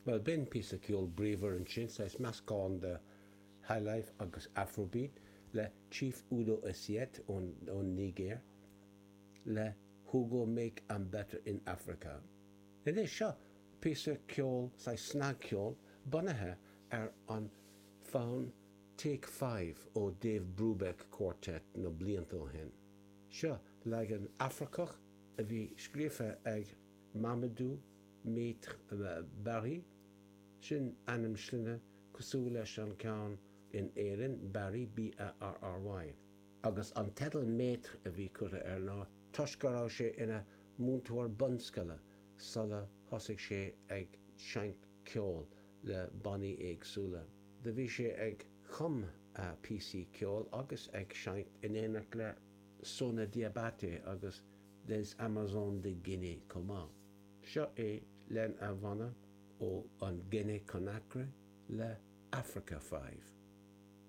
Bhuel, b'in píosa ceoil bríomhar ansin, saghas meascán de highlife agus afrobeat le Chief Udo Essiet ón Nigéir le Who Go Make Am Better in Africa. Anois, seo píosa ceoil, saghas snagcheol, bunaithe ar an fonn Take Five ó Dave Brubeck Quartet na blianta ó shin. Seo leagan Afracach a bhí scríofa ag Mamadou Maître Barry, sin ainm sloinne cosúil leis an ceann in Éirinn, Barry, B-A-R-R-Y. Agus an teideal Maître a bhí curtha air ná toisc go raibh sé ina mhúinteoir bunscoile sula thosaigh sé ag seinnt ceoil le bannaí éagsúla. Do bhí sé ag cum píosaí ceoil agus ag seinnt in éineacht le Sona Diabaté agus Les Amazones de Guinée chomh maith. Seo é lena bhanna ó an Guinea Conakry le Africa Five.